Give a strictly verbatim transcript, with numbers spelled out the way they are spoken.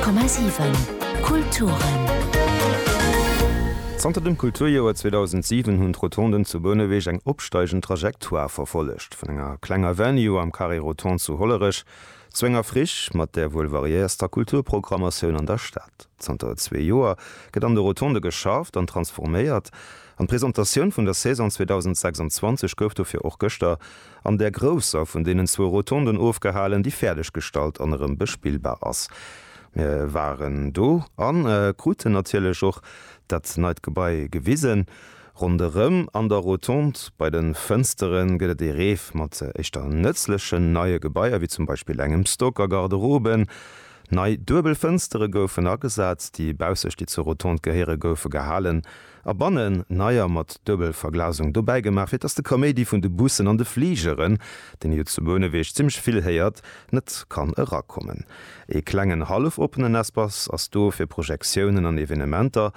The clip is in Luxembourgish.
Honnert Komma siwen Kulturen. Zanter dem Kulturjoer zweedausendsiwen hunn d'Rotonden zu Bouneweg eng opsteigend Trajectoire verfollegt, vun enger klenger Venue am Carré Rotonde zu Hollerech zu enger Friche mat der wuel variéierster Kulturprogrammatioun an der Stad. Zanter zwee Joer gëtt an de Rotondë geschafft an transforméiert, an d'Presentatioun vun der Saison zweedausendsechsanzwanzeg gouf dofir och gëschter an där grousser vun deenen zwou Rotonden ofgehalen, déi fäerdeg gestallt an erëm bespillbar ass. Mir waren do a kruten natierlech och dat neit Gebai gewisen. Ronderëm an der Rotonde bei de Fënstere gëtt et ee Reef mat éischter nëtzlechen neie Gebaier, wéi zum Beispill engem Stock a Garderoben. Nei duebel Fënstere goufen agesat, déi baussecht, déi zur Rotonde gehéiere goufe gehalen a bannen neier mat Duebelverglasung dobäi gemaach, fir dass de Kaméidi vun de Bussen an de Fligeren, deen ee jo zu Bouneweg zimmlech vill héiert, net kann erakommen. Ee klengen hallef oppenen Espace ass do fir Projektiounen an Evenementer.